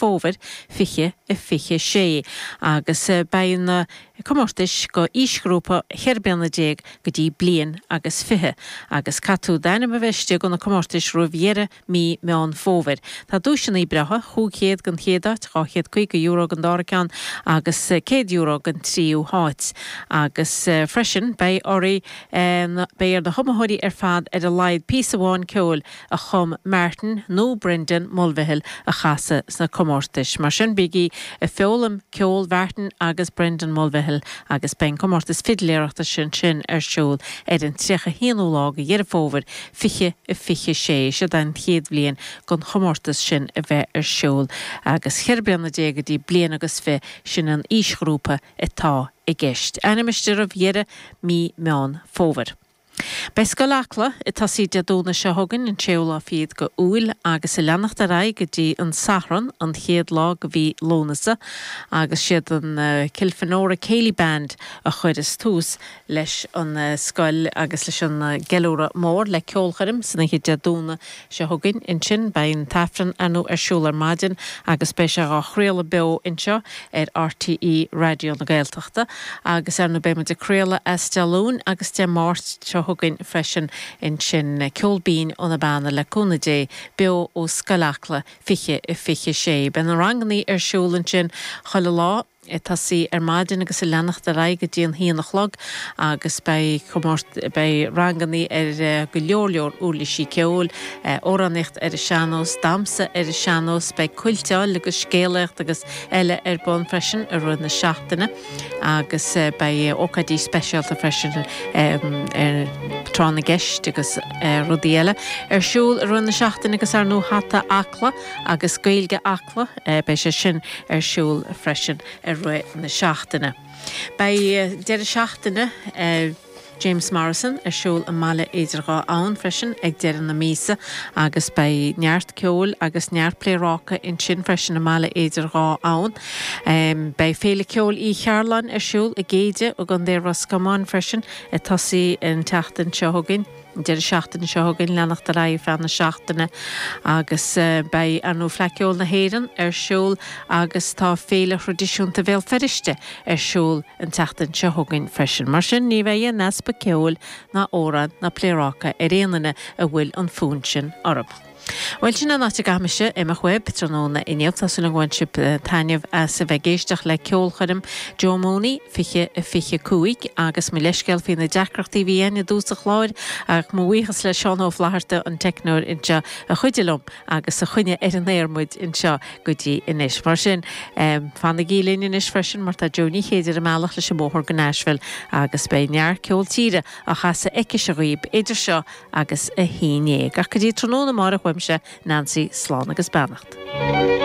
Fómhair 20 26 agus beidh na comórtais go aoisghrúpa 14 bliana go dtí bliain agus 20 agus caithfidh tú d'ainm a bheith istigh go na comórtais roimh dheireadh mí Meán Fómhair. Tá duaiseanna breátha, 500 don chéad áit, €250 don dara ceann agus €100 don tríú háit. Agus freisin beidh oraibh, beidh ar na hiomaitheoirí ar fad ar a laghad píosa amháin ceoil a chum Martin nó Brendan Mulvihill a chasadh sna comórtais. Mar sin bígí ag foghlaim ceol Mhartin agus Brendan Mulvihill agus beidh an comórtas fidléireachta sin sin ar siúl ar an 31ú lá de Dheireadh Fómhair 20 26. Siod an chéad bhliain don chomórtas sin a bheith ar siúl agus 14 bliana go dtí bliain agus fi sin an aoisghrúpa atá i gceist. Ainm istigh roimh dheireadh mí Meán Fómhair. Beidh Scoil Acla ag tosaí Dé Domhnaigh seo chugainn, an séú lá fichead go Iúil, agus ag leanacht ar aghaidh go dtí an Satharn, an chéad lá go mhí Lúnasa, agus siad an Kilfenora Céilí Band a chuireas tús leis an scoil agus leis an gceiliúradh mór le ceolchoirm san oíche Dé Domhnaigh seo chugainn. Ansin beidh an tAifreann ar ndóigh ar siúl ar maidin agus beidh sé dhá chraoladh beo anseo ar RTÉ Raidió na Gaeltachta agus ar ndóigh beidh muid ag craoladh as Dé Luain agus Dé Máirt seo chugainn freisin ansin. Ceol binn ó na Beanna le cúnamh Dé beo ó Scoil Acla 20 26. Beidh na rangannaí ar siúl ansin chuile lá. ag tosaí ar maidin agus ag leanacht ar aghaidh go dtí an haon a chlog agus beidh comórt beidh rangannaí ar go leor leor uirlisí ceoil, amhránaíocht ar an sean-nós, damhsa ar an sean-nós, beidh cuilteáil agus scéalaíocht agus eile ar bun freisin i rith na seachtaine agus beidh ócáidí speisialta freisin ar tráth na gceist agus rudaí eile ar siúl i rith na seachtaine agus ar ndóigh Hata Acla agus Gaeilge Acla, beidh sé sin ar siúl freisin i rith na seachtaine. Beidh deireadh seachtaine James Morrison ar siúl i mBaile Idir Dhá Abhainn freisin ag deireadh na míosa agus beidh neart ceoil agus neart pléaráca ansin freisin i mBaile Idir Dhá Abhainn. Beidh Féile Ceoil Uí Chearláin ar siúl i gCéide i gContae Ros Comáin freisin ag tosaí an tseachtain seo chugainn. an deireadh seachtaine seo chugainn, leanacht ar aghaidh ar feadh na seachtaine agus beidh, ar ndóigh, Fleadh Cheoil na hÉireann ar siúl agus tá Féile Thraidisiúnta Bhéal Feirste ar siúl an tseachtain seo chugainn freisin. Mar sin, ní bheidh aon easpa ceoil ná amhráin ná pléaráca ar aon duine a bhfuil an fonn sin orthu. Bhuel, sin an áit a gcaithfidh mise imeacht uaibh tráthnóna inniu. Tá súil agam gur bhain sibh taitneamh as a bheith ag éisteacht le ceolchoirm Joe Mooney 20 25 agus mo leithscéal faoi na deacrachtaí a bhí againn i dtús an chláir ach mo bhuíochas le Seán Ó Flatharta, an teicneoir anseo, a chuidigh liom agus a choinnigh ar an aer muid anseo go dtí anois. Mar sin, fanaigí linn anois freisin mar tá Joe Ní Chéide ar an mbealach leis an mbóthar go Nashville agus beidh neart ceol tíre á chasadh aicise dhaoib idir seo agus a 11. Ach go dtí tráthnóna amárach uaimse, Nancy, slán agus beannacht.